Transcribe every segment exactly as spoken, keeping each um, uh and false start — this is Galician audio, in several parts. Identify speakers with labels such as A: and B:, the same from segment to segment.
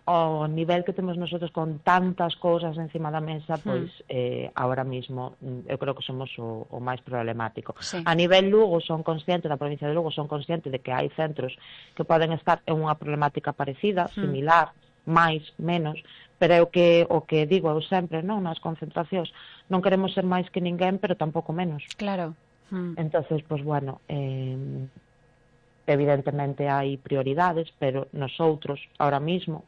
A: ao nivel que temos nosotros con tantas cousas encima da mesa, pois mm. eh, ahora mismo eu creo que somos o, o máis problemático.
B: Sí.
A: A nivel Lugo son conscientes, da provincia de Lugo son conscientes de que hai centros que poden estar en unha problemática parecida, mm. similar, máis, menos, pero é o que, o que digo eu sempre, non, nas concentracións, non queremos ser máis que ninguén, pero tampouco menos.
B: Claro. Mm.
A: Entonces, pues bueno, eh, evidentemente hai prioridades, pero nosotros, ahora mismo,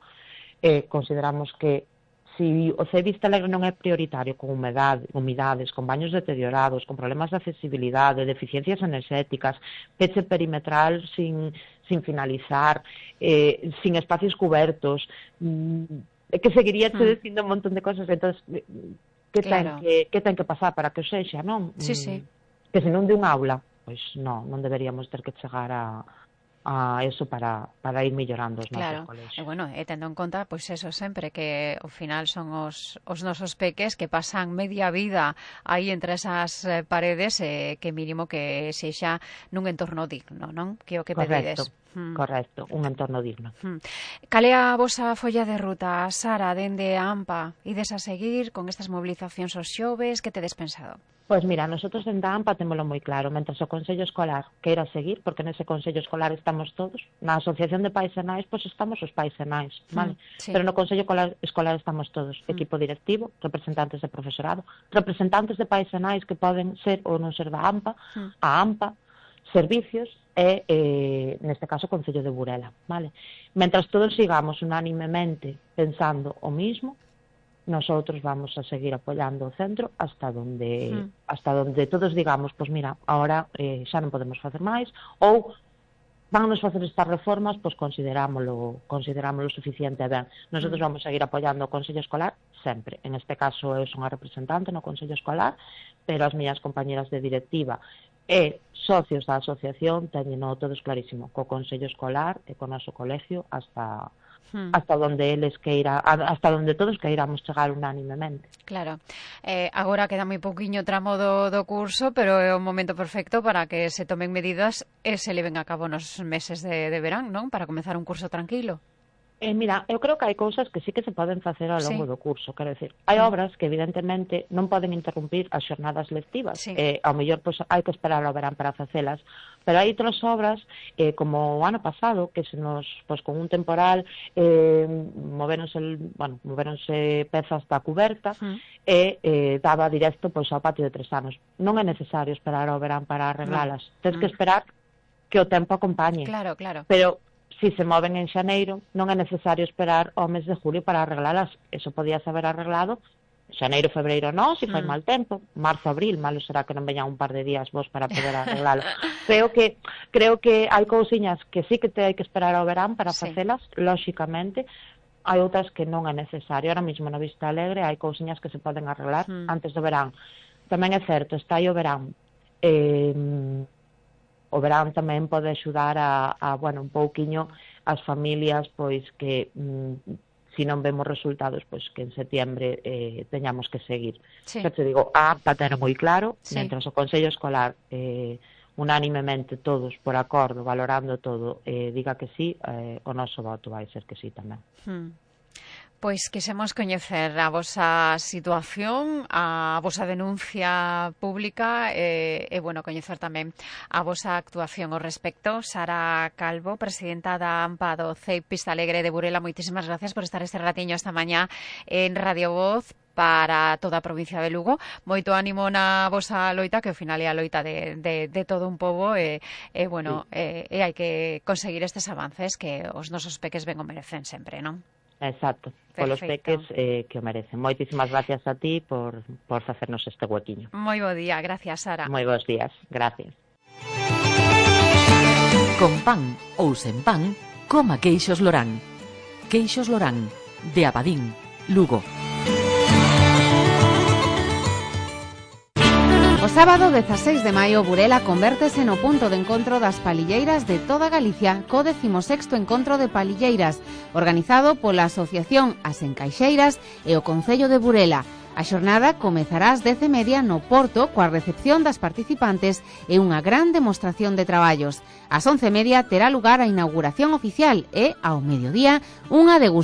A: eh, consideramos que si o C E Vista Alegre non é prioritario con humedade, humidades, con baños deteriorados, con problemas de accesibilidade, deficiencias enerxéticas, peche perimetral sin, sin finalizar, eh, sin espacios cubertos, mm, é que seguiría te dicindo un montón de cosas, entón, que,
B: claro.
A: ten que, que ten que pasar para que o sexa, non?
B: Sí, sí.
A: Que se non de un aula, pois non, non deberíamos ter que chegar a... a eso para, para ir mellorando os
B: claro.
A: nosos colexios.
B: E bueno, e tendo en conta, pois eso sempre, que ao final son os, os nosos peques que pasan media vida aí entre esas paredes, eh, que mínimo que sexa nun entorno digno, non? Que o que
A: correcto,
B: pedides. Hmm.
A: Correcto, un entorno digno.
B: Hmm. Cal é a vosa folla de ruta, Sara, dende a AMPA? Ides a seguir con estas movilizacións aos xoves? Que tedes pensado?
A: Pois mira, nosotros en da AMPA témolo moi claro, mentre o Consello Escolar queira seguir, porque nese Consello Escolar estamos todos, na Asociación de Pais e Nais, pois estamos os pais e nais, vale? Mm, sí. Pero no Consello Escolar estamos todos, mm. equipo directivo, representantes de profesorado, representantes de pais e nais que poden ser ou non ser da AMPA, mm. a AMPA, servicios e, eh, neste caso, o Concello de Burela, vale? Mentras todos sigamos unánimemente pensando o mismo, nosotros vamos a seguir apoyando o centro hasta donde mm. hasta donde todos digamos, pois pues mira, ahora eh, xa non podemos facer máis, ou vannos facer estas reformas, pois pues considerámoslo, considerámoslo suficiente ben. Nosotros mm. vamos a seguir apoyando o Consello Escolar sempre. En este caso eu son a representante no Consello Escolar, pero as miñas compañeras de directiva e socios da asociación teñen todos clarísimo, co Consello Escolar e co noso colegio hasta hmm. hasta donde eles queira, hasta donde todos queiramos chegar unánimemente.
B: Claro. Eh, agora queda moi pouquiño tramo do, do curso, pero é o momento perfecto para que se tomen medidas e se leven a cabo nos meses de, de verán, non? Para comezar un curso tranquilo.
A: Eh, mira, eu creo que hai cousas que sí que se poden facer ao longo sí. do curso, quero decir, hai mm. obras que evidentemente non poden interrumpir as xornadas lectivas, sí. eh, ao mellor pois, hai que esperar ao verán para facelas, pero hai outras obras, eh, como o ano pasado, que se nos, pois con un temporal, eh, moveronse, bueno, moveronse pezas da cuberta, mm. e eh, daba directo pois, ao patio de tres anos. Non é necesario esperar ao verán para arreglalas, mm. tens mm. que esperar que o tempo acompañe.
B: Claro, claro.
A: Pero si se moven en xaneiro, non é necesario esperar ao mes de julio para arreglalas. Eso podía haber arreglado xaneiro, febreiro non, se fai mm. mal tempo, marzo, abril, malo será que non veñan un par de días vos para poder arreglalo. creo que creo que hai cousiñas que sí que te hai que esperar ao verán para sí. facelas, lóxicamente, hai outras que non é necesario. Ahora mesmo na Vista Alegre hai cousiñas que se poden arreglar mm. antes do verán. Tamén é certo, está aí o verán. Eh, o verán tamén pode axudar a, a bueno, un pouquiño as familias, pois que mm, si non vemos resultados, pois que en setiembre eh, teñamos que seguir. Sí. Que te digo, a AMPA ten moi claro, sí. mentras o Consello Escolar eh, unánimemente todos por acordo, valorando todo, eh, diga que sí, eh, o noso voto vai ser que sí tamén.
B: Hmm. Pois quisemos coñecer a vosa situación, a vosa denuncia pública e, e bueno, coñecer tamén a vosa actuación ao respecto. Sara Calvo, presidenta da AMPA do C E I Vista Alegre de Burela, moitísimas gracias por estar este ratiño esta mañá en Radio Voz para toda a provincia de Lugo. Moito ánimo na vosa loita, que ao final é a loita de, de, de todo un pobo e, e bueno, sí. e, e hai que conseguir estes avances que os nosos peques ben o merecen sempre, non?
A: Exacto, polos peques eh, que o merecen. Moitísimas gracias a ti por, por facernos este huequiño.
B: Moi bo día, gracias, Sara.
A: Moi bons días, gracias.
C: Con pan ou sen pan, coma queixos Lorán. Queixos Lorán, de Abadín, Lugo.
D: O sábado dezaseis de maio, Burela convértese no punto de encontro das palilleiras de toda Galicia, co décimo sexto Encontro de Palilleiras, organizado pola Asociación As Encaixeiras e o Concello de Burela. A xornada comezará ás dez e media no Porto coa recepción das participantes e unha gran demostración de traballos. Ás once e media terá lugar a inauguración oficial e, ao mediodía, unha degustación